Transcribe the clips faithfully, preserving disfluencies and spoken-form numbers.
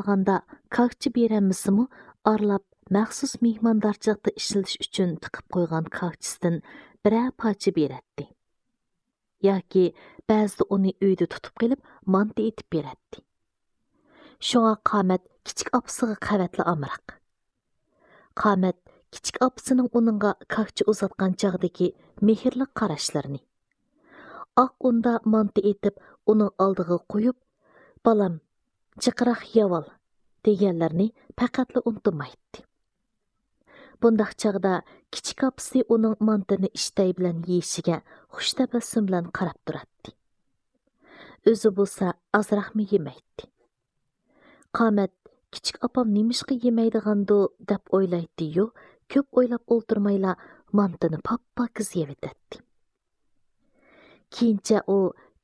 قالغاندا كاكچى بېرەلمىسىمۇ، ئارىلاپ مەخسۇس مېھماندارچىلىقتا ئىشلىتىش ئۈچۈن تىقىپ قويغان كاكچىسىدىن بىرەر پارچە بېرەتتى. ياكى بەزىدە ئۇنى ئۆيدە تۇتۇپ قېلىپ، مانتا ئېتىپ بېرەتتى. شۇڭا قامەت كىچىك ئاپىسىغا قەۋەتلا ئامراق. قامەت كىچىك ئاپىسىنىڭ ئۇنىڭغا كاكچى ئۇزاتقان چاغدىكى مېھىرلىك قاراشلىرىنى، ئاق ئۇندا مانتا ئېتىپ ئۇنىڭ ئالدىغا قويۇپ، «بالام، جىقراق يەۋال» دېگەنلىرىنى پەقەتلا ئۇنتۇمايتتى. بۇنداق چاغدا كىچىك ئاپىسى ئۇنىڭ مانتىنى ئىشتەي بىلەن يېيىشىگە خۇش تەبەسسۇم بىلەن قاراپ تۇراتتى. ئۆزى بولسا ئازراقمۇ يېمەيتتى. قامەت، «كىچىك ئاپام نېمىشقا يېمەيدىغاندۇ؟» دەپ ئويلايتتى-يۇ، كۆپ ئويلاپ ئولتۇرمايلا مانتىنى پاپپاكىز يەۋېتەتتى. كېيىنچە ئۇ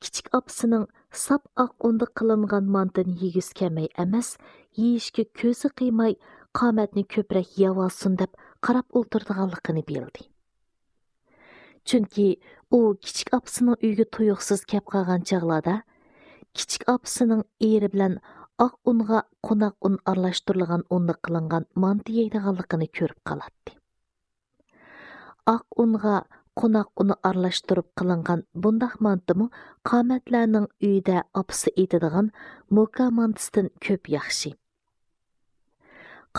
كىچىك ئاپىسىنىڭ ساپ ئاق ئۇندا قىلىنغان مانتىنى يېگۈسى كەلمەي ئەمەس، يېيىشكە كۆزى قىيماي، قامەتنى كۆپرەك يەۋالسۇن دەپ قاراپ ئولتۇرىدىغانلىقىنى بىلدى. چۈنكى ئۇ كىچىك ئاپىسىنىڭ ئۆيىگە تۇيۇقسىز كەپ قالغان چاغلاردا، كىچىك ئاپىسىنىڭ ئېرى بىلەن ئاق ئۇنغا قوناق ئۇن ئارىلاشتۇرۇلغان ئۇندا قىلىنغان مانتا يەيدىغانلىقىنى كۆرۈپ قالاتتى. ئاق ئۇنغا قوناق ئۇنى ئارىلاشتۇرۇپ قىلىنغان بۇنداق مانتىمۇ قامەتلەرنىڭ ئۆيىدە ئاپىسى ئېتىدىغان موكا مانتىسىدىن كۆپ ياخشى.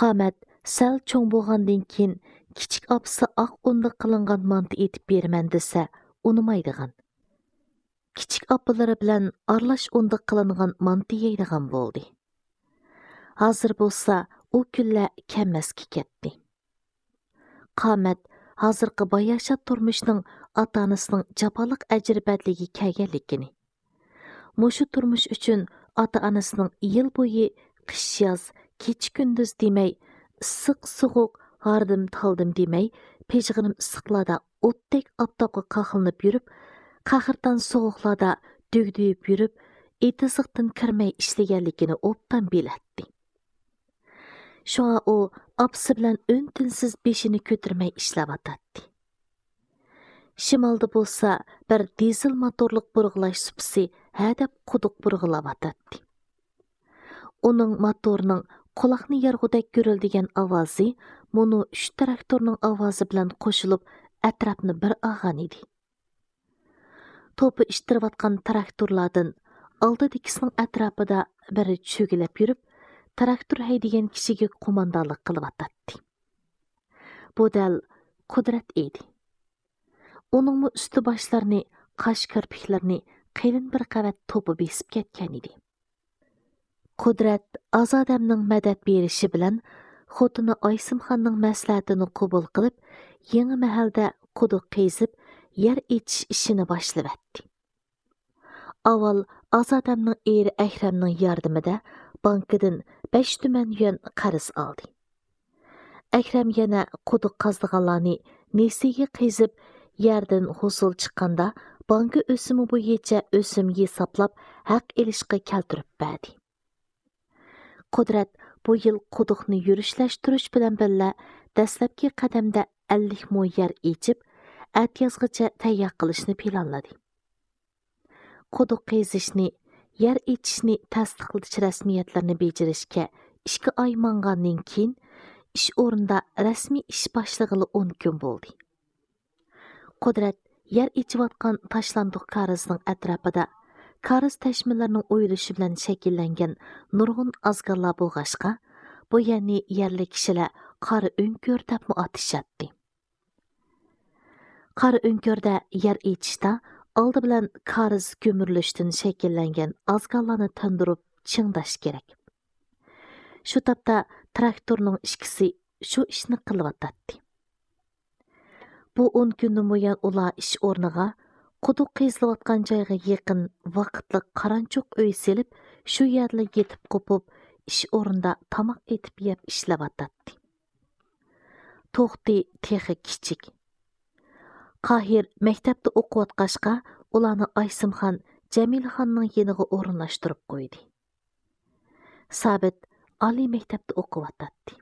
قامەت سەل چوڭ بولغاندىن كېيىن، كىچىك ئاپىسى ئاق ئۇندا قىلىنغان مانتا ئېتىپ بېرىمەن دېسە، ئۇنىمايدىغان، كىچىك ئاپىلىرى بىلەن ئارىلاش ئۇندا قىلىنغان مانتا يەيدىغان بولدى. ھازىر بولسا ئۇ كۈنلەر كەلمەسكە كەتتى. قامەت ھازىرقى باياشات تۇرمۇشنىڭ ئاتا-ئانىسىنىڭ جاپالىق ئەجرى بەدىلىگە كەلگەنلىكىنى، مۇشۇ تۇرمۇش ئۈچۈن ئاتا-ئانىسىنىڭ يىل بويى قىش-ياز، كېچە-كۈندۈز دېمەي، ئىسسىق-سوغۇق، ھاردىم-تالدىم دېمەي، پىژغىرىم ئىسسىقلاردا ئوتتەك ئاپتاپقا قاقلىنىپ يۈرۈپ، قەھرىتان سوغۇقلاردا دۈگدۈيۈپ يۈرۈپ، ئېتىزلىقتىن كىرمەي ئىشلىگەنلىكىنى ئوبدان بىلەتتى. شۇڭا ئۇ ئاپىسى بىلەن ئۈن-تىنسىز بېشىنى كۆتۈرمەي ئىشلەۋاتاتتى. شىمالدا بولسا بىر دىزېل موتورلۇق بۇرغىلاش سۇپىسى ھەدەپ قۇدۇق بۇرغىلاۋاتاتتى. ئۇنىڭ موتورىنىڭ قۇلاقنى يارغۇدەك گۈرۈلدىگەن ئاۋازى مۇنۇ ئۈچ تىراكتورنىڭ ئاۋازى بىلەن قوشۇلۇپ، ئەتراپنى بىر ئالغان ئىدى. توپا ئىتتىرىۋاتقان تىراكتورلاردىن ئالدىدىكىسىنىڭ ئەتراپىدا بىرى چۆگىلەپ يۈرۈپ، تىراكتور ھەيدىگەن كىشىگە قوماندانلىق قىلىۋاتاتتى. بۇ دەل قۇدرەت ئىدى. ئۇنىڭمۇ ئۈستى باشلىرىنى، قاش كىرپىكلىرىنى قېلىن بىر قەۋەت توپا بېسىپ كەتكەن ئىدى. قۇدرەت ئازادەمنىڭ مەدەت بېرىشى بىلەن خوتۇنى ئايسىمخاننىڭ مەسلىھەتىنى قوبۇل قىلىپ، يېڭى مەھەلدە قۇدۇق قېزىپ، يەر ئېچىش ئىشىنى باشلىۋەتتى. ئاۋۋال ئازادەمنىڭ ئېرى ئەكرەمنىڭ ياردىمىدە بانكىدىن بەش تۈمەن يۈەن قەرز ئالدى. ئەكرەم يەنە قۇدۇق قازىدىغانلارنى نېسىگە قېزىپ، يەردىن ھوسۇل چىققاندا، بانكا ئۆسۈمى بويىچە ئۆسۈم ھېسابلاپ، ھەق ئېلىشقا كەلتۈرۈپ بەردى. قۇدرەت بۇ يىل قۇدۇقنى يۈرۈشلەشتۈرۈش بىلەن بىللە، دەسلەپكى قەدەمدە ئەللىك مو يەر ئېچىپ، ئەتىيازغىچە تەييار قىلىشنى پىلانلىدى. قۇدۇق قېزىشنى، يەر ئېچىشنى تەستىقلىتىش رەسمىيەتلىرىنى بېجىرىشكە ئىككى ئاي ماڭغاندىن كېيىن، ئىش ئورنىدا رەسمىي ئىش باشلىغىلى ئون كۈن بولدى. قۇدرەت يەر ئېچىۋاتقان تاشلاندۇق كارىزنىڭ ئەتراپىدا كارىز تەشمىلىرىنىڭ ئويۇلۇشى بىلەن شەكىللەنگەن نۇرغۇن ئازگاللار بولغاچقا، بۇ يەرنى يەرلىك كىشىلەر قارا ئۆڭكۈر دەپمۇ ئاتىشاتتى. قارا ئۆڭكۈردە يەر ئېچىشتا ئالدى بىلەن كارىز گۈمۈرۈلۈشتىن شەكىللەنگەن ئازگاللارنى تىندۇرۇپ چىڭداش كېرەك. شۇ تاپتا تىراكتورنىڭ ئىككىسى شۇ ئىشنى قىلىۋاتاتتى. بۇ ئون كۈندىن بۇيان ئۇلار ئىش ئورنىغا، قۇدۇق قېزىلىۋاتقان جايغا يېقىن ۋاقىتلىق قارانچۇق ئۆي سېلىپ، شۇ يەردىلا يېتىپ قوپۇپ، ئىش ئورنىدا تاماق ئېتىپ يەپ ئىشلەۋاتاتتى. توختى تېخى كىچىك. قاھىر مەكتەپتە ئوقۇۋاتقاچقا، ئۇلارنى ئايسىمخان جەمىلىخاننىڭ يېنىغا ئورۇنلاشتۇرۇپ قويدى. سابىت ئالىي مەكتەپتە ئوقۇۋاتاتتى.